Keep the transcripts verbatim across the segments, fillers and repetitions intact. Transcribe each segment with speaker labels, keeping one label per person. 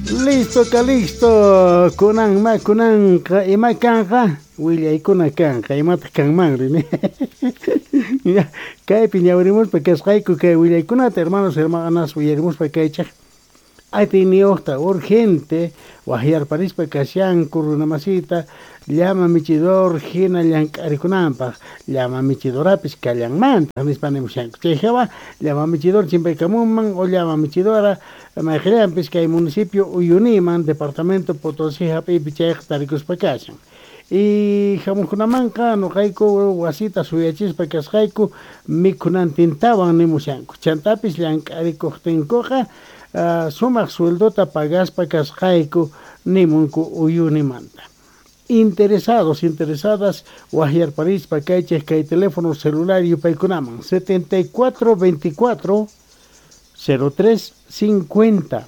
Speaker 1: Listo, Calixto, kunan ma kunanqa ima kanqa willaykuna kanqa imataq kanmanri kaypi ñawirimuspa kasqayku kay willaykunata hermanos hermanas willarimuspa kaychaq atiyniyuqta urgente waqyarparispa kashanku runamasita llama michidor hina llank'arikunanpaq llama michidorapis kallanmantaq nispa nimushanku chay hawa llama michidor chimpaykamunman o llama michidora mayqillanpis kay municipio Uyuniman departamento Potosí hap'iypi chayqa tarikuspa kashan y hamuqkunamanqa nuqayku wasita suyachispa kasqayku mikhunantintawan nimushanku chantapis llank'arikuqtinkuqa uh, sumaq sueldota pagaspa kasqayku nimunku Uyunimanta. Interesados, interesadas, waqyarparispa kaychej kay teléfono celular yupaykunaman setenta y cuatro veinticuatro cero tres cincuenta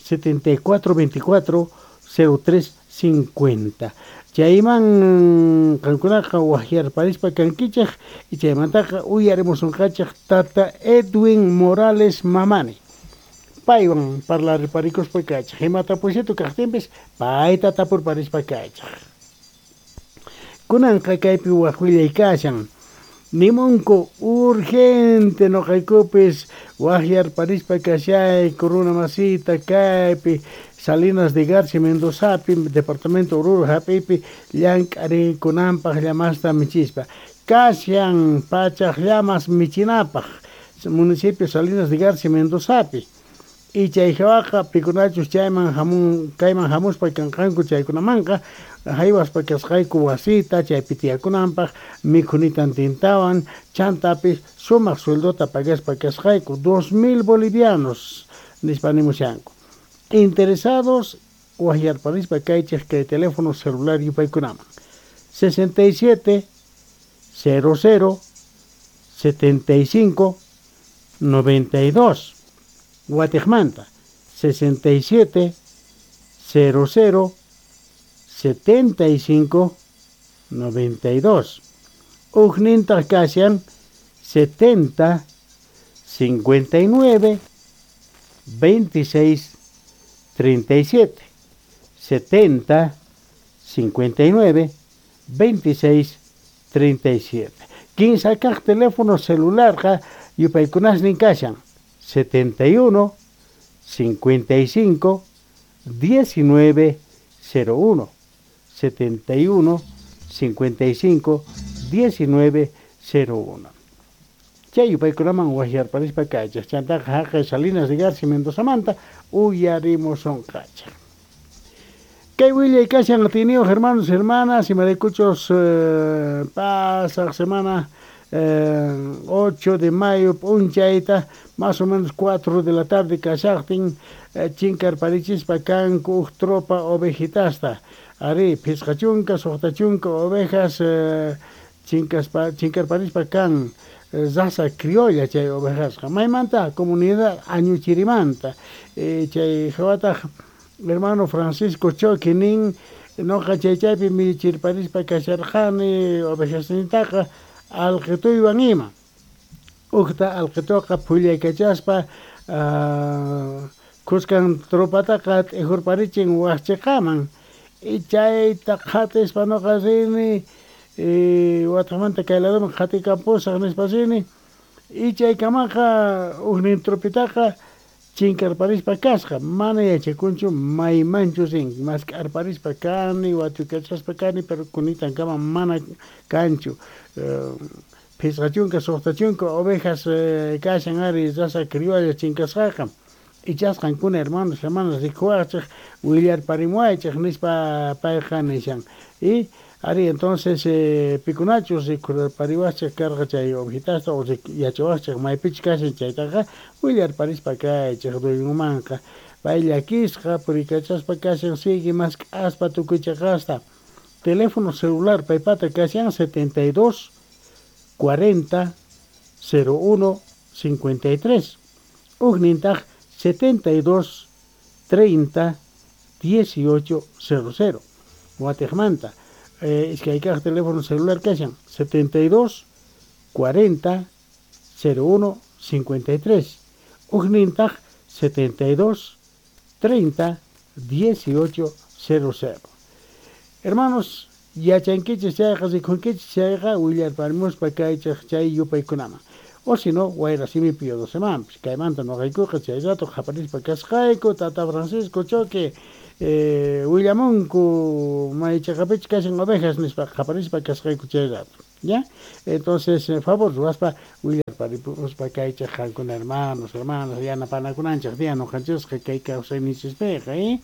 Speaker 1: setenta y cuatro veinticuatro cero tres cincuenta. Chayman qankunaqa waqyarparispa kankichej y chaymantaqa uyarimusunqachej tata Edwin Morales Mamani. Paywan parlariparikuspa kaychej imata pusitu kaqtinpis payta tapurparispa kaychej. Kunanqa kaypi waq willay kashan nimunku urgente nuqaykupis waqyarparispa kashayku runa masita kaypi Salinas de Garcia Mendozapi departamento Oruro hap'ipi llank'arikunanpaq llamasta michispa kashan pachaq llamas michinapaq municipio Salinas de Garcia Mendozapi y chay hawaqa pikunachus chayman hamun kayman hamuspa kanqanku chaykunamanqa haywaspa kasqayku wasita chaypi tiyakunanpaq mikhunitantintawan chantapis sumaq sueldota pagaspa kasqayku dos mil bolivianos nispa nimushanku. Interesados waqyarparispa kaychej kay teléfono celular yupaykunaman sesenta y siete cero cero setenta y cinco noventa y dos Guatemala sesenta y siete cero cero setenta y cinco noventa y dos Ujninta kashan setenta cincuenta y nueve veintiséis treinta y siete setenta cincuenta y nueve veintiséis treinta y siete Quince kaq teléfono celular ja yupaykunasnin kashan setenta y uno cincuenta y cinco diecinueve cero uno setenta y uno cincuenta y cinco diecinueve cero uno Chay yupaykunaman waqyarparispa kaychej chantaqa haqay Salinas de Garcia Mendozamanta uyarimusunqachej. Kay willay kashan atiniyuq hermanos hermanas imaraykuchus eh, pasaq semana eh, ocho de mayo p'unchayta más o menos cuatro de la tarde kashaqtin eh, chinkarparichispa kanku uj tropa ovejitasta ari phisqa chunka suqta chunka ovejas eh, chinkaspa chinkarparispa kan raza criolla chay ovejasqa maymanta comunidad Añuchirimanta eh, chay hawataq hermano Francisco Choqui nin noqa chay chaypi michirparispa kasharqani ovejasnintaqa alqituywan ima uqta alqituqa phullaykachaspa uh, kuskan tropataqa t'ijurparichin waqchiqaman y chayta qhatispa noqa rini y wataqmanta kay ladoman qhatikampusaq nispa rini y chaykamaqa ujnin tropitaqa chinkarparispa kasqa mana yachakunchu maymanchu rin mask'arparispa kani watuykachaspa kani pero kunitankama mana kanchu uh, phisqa chunka suqta chunka ovejas eh, kashan ari raza criolla chinkasqaqa ichasqankuna hermanos hermanas rikuwaqchej willarparimuwaychej nispa payqa nishan y ari entonces eh, pikunachus rikurpariwaqchej karqa chay ovejitasta o yachawaqchej maypichus kashan chaytaqa willarparispa kaychej duyunmanqa pay llakisqa puriykachaspa kashan sigue mask'aspa tukuy chaqasta teléfono celular paypata kashan setenta y dos cuarenta cero uno cincuenta y tres ujnintaq setenta y dos treinta dieciocho cero cero Guatemala eh, iskay kaq teléfono celular kashan setenta y dos cuarenta cero uno cincuenta y tres ujnintaq setenta y dos treinta dieciocho cero cero. Hermanos, yachankichis chayqa rikunkichis chayqa willarparimuspa kaychej chay yupaykunaman. O si no, wayrasimipi yodosemanpis. Kaymanta noqaykuqa chay rato qaparispa kasqayku Tata Francisco Choque eh, willamunku maychaqapichus kashan ovejas nispa qaparispa kasqayku chay rato. ¿Ya? Entonces, eh, favor ruwaspa willarparimuspa kaychej qankuna hermanos, hermanas, yanapanakunanchej día noqanchisqa kay kawsayninchispiqa, ¿eh?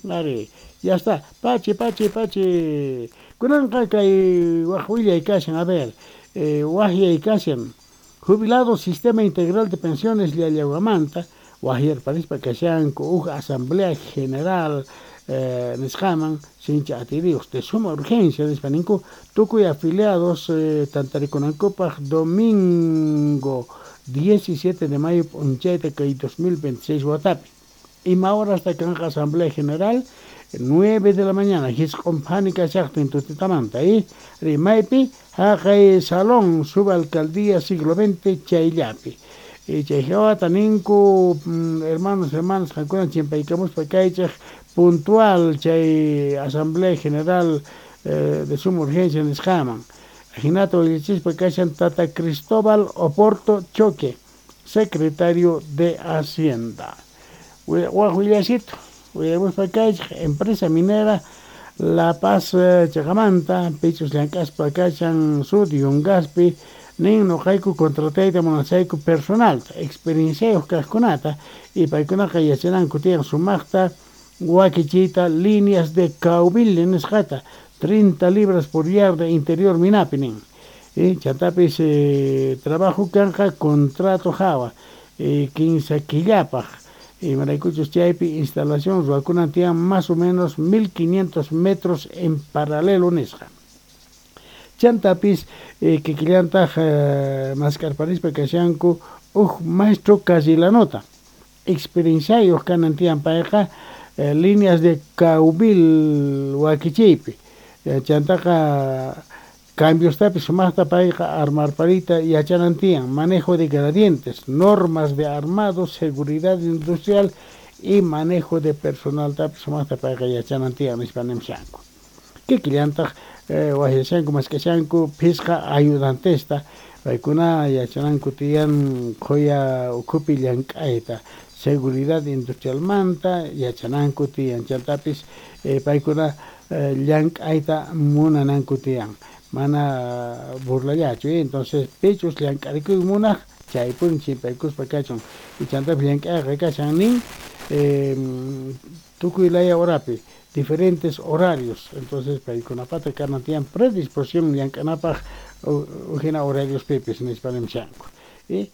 Speaker 1: Ari, ya está. Pachi, pachi, pachi. Kunanqa kay waj willay kashan, a ver, eh, wajyay kashan. Jubilado Sistema Integral de Pensiones Llallahuamanta, wajyarparispa kashanku uj Asamblea General eh, nisqaman sincha atirios de suma urgencia nispa ninku tukuy afiliados eh, tantarikunankupaj domingo diecisiete de mayo p'unchayta kay dos mil veintiséis watapi. Ima hora hasta kanqa Asamblea General nueve de la mañana hisq'unphani kashaqtin tutitamanta, ¿eh? Rimaypi haqay Salón Subalcaldía Siglo veinte chayllapi. Y chay hawata ninku hermanos, hermanas qankuna chimpaykamuspa kaychej puntual chay Asamblea General eh, de suma urgencia nisqaman. Ajinata willachispa kashan Tata Cristóbal Oporto Choque, secretario de Hacienda. Waj willasito, willamuspa kaychej empresa minera La Paz chaqamanta, pichus llank'aspa kashan sud yungaspi, nin noqayku contratayta munasayku personalta, experienciayuq kaqkunata, y paykunaqa yachananku tiyan sumaqta wakichiyta líneas de caubile nisqata, treinta libras por yarda interior minapi nin. Y chantapis eh, trabajo kanqa contrato hawa, eh, quince killapaj. Y maraykuchus chaypi instalación ruwakunan tiyan más o menos mil quinientos metros en paralelo nisqa. Chantapis eh, kikillantaj eh, maskarparispa kashanku uj maestro Casillanota. Experienciayuq kanan tiyan payqa eh, líneas de caubil wakichiypi. Eh, chantaqa cambiostapis sumaqta payqa armarparita yachanan tiyan, manejo de gradientes, normas de armado, seguridad industrial y manejo de personal tapis sumaqta payqa yachanan tiyan nispa nimshanku. Kikillantaq eh, wajyashanku maskashanku phisqa ayudantesta, paykuna yachananku tiyan qhuya ukhupi llank'ayta, seguridad industrialmanta yachananku tiyan, chantapis eh, paykuna eh, llank'ayta munananku tiyan. Mana burlallachu, ¿eh? Entonces pichus llank'arikuy munaj chaypuni chimpaykuspa kachun y chantapis llank'ayqa kashan nin eh, tukuy laya horapi diferentes horarios, entonces paykunapata kanan tiyan predisposición llank'anapaj ujina horarios pipis nispa nimshanku. ¿Eh?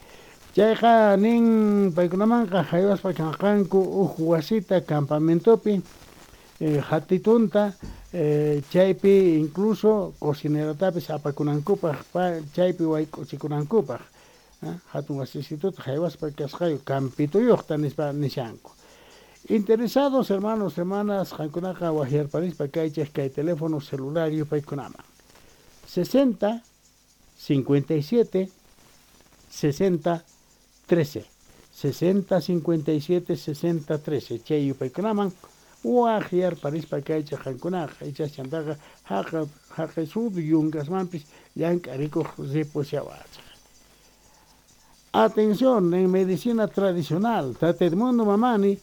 Speaker 1: Chayqa nin paykunamanqa haywaspa kanqanku uj wasita campamentopi eh, hatitunta eh, chaypi incluso cocineratapis apakunankupaj chaypi wayk'uchikunankupaj, ¿eh? Hatun wasisituta haywaspa kasqayu campituyuqta nispa nishanku. Interesados hermanos, hermanas, qankunaqa wajyarparispa kaychej kay teléfono celular yupaykunaman sesenta, cincuenta y siete, sesenta, trece, sesenta, cincuenta y siete, sesenta, trece, chay yupaykunaman wajyarparispa kaychej qankunaqa ichas chantaqa haqa haqay sud yungasmanpis llank'arikuq ripushawachej. Atención, en medicina tradicional, Tata Edmundo Mamani,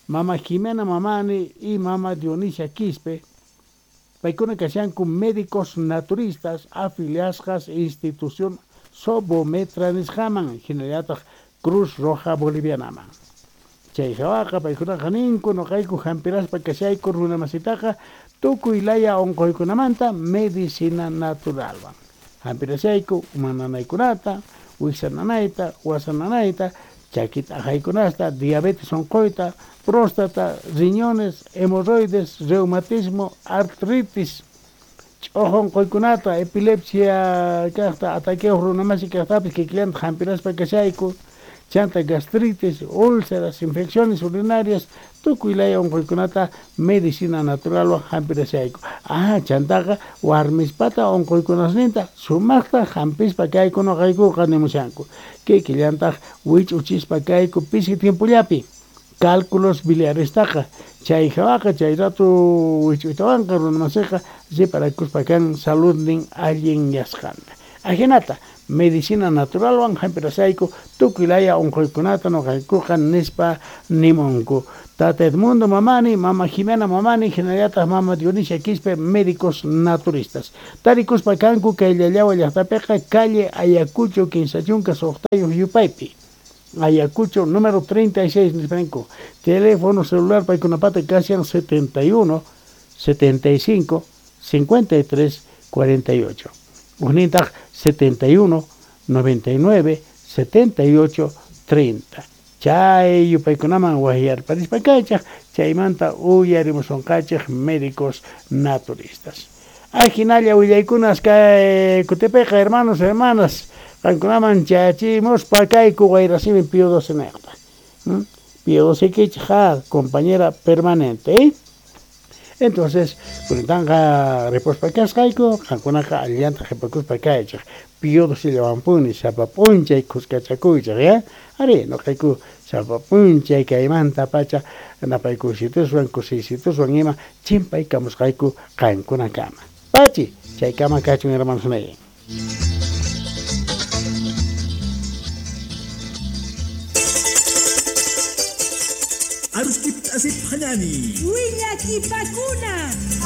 Speaker 1: Mama Jimena Mamani y Mama Dionisia Quispe, paykuna kashanku médicos naturistas afiliasqas institución Sobometra nisqaman, hinallataq Cruz Roja Bolivianaman. Chay hawaqa paykunaqa ninku noqayku hampiraspa kashayku runamasitaqa tukuy laya unquykunamanta medicina naturalwan. Hampirashayku uma nanaykunata, wiksa nanayta, wasa nanayta, chaki t'aqaykunasta, diabetes unquyta, próstata, riñones, hemorroides, reumatismo, artritis, ch'uju unquykunata, epilepsia kaqta, ataqueo runamasi kaqtapis kikillanta hampiraspa kashayku, chanta gastritis, úlceras, infecciones urinarias, tukuy laya unquykunata medicina naturalwan hampirashayku. Ah, chantaqa warmispata unquykunasninta sumaqta hampispa kayku noqaykuqa nimushanku. Kikillantaq wich'uchispa kayku pisi tiempollapi. Cálculos biliarestaqa, Chay hawaqa chay rato wich'uytawanqa runamasiqa riparakuspa kan saludnin allinyasqanta. Ajinata medicina naturalwan hampirasayku tukuy laya unquykunata nuqaykuqa nispa nimunku. Tata Edmundo Mamani, Mama Jimena Mamani, hinallataq Mama Dionisia Quispe, médicos naturistas. Tarikuspa kanku kay Llallawa llaqtapiqa calle Ayacucho kinsa chunka suqtayuq yupaypi. Ayacucho número treinta y seis nispanku. Teléfono celular paykunapata kashan setenta y uno, setenta y cinco, cincuenta y tres, cuarenta y ocho. Ujnintaq setenta y uno, noventa y nueve, setenta y ocho, treinta. Chay yupaykunaman wajyarparispa kaychaq, chaymanta uyarimusunqachik médicos naturistas. Ajinalla willaykunas kay kutipiqa, hermanos, hermanas, qankunaman chayachimuspa kayku wayrasimi Pío doce niqta. ¿Mm? Pío doce kichik, ja, compañera permanente, ¿eh? Entonces, kunanqa ripospa kasqayku, qankunaqa allillanta qhipakuspa kaychik. Pío doce llawanpuni sapa p'unchay khuskachakuychik, ya? Ari, nuqayku sapa p'unchay kaymanta pacha napaykusituswan kusiysituswan ima chimpaykamusqayku qankunakama. Pachi, chaykama kachun, hermanos míos.
Speaker 2: Aruskip asip hanani.
Speaker 3: Willakipakuna.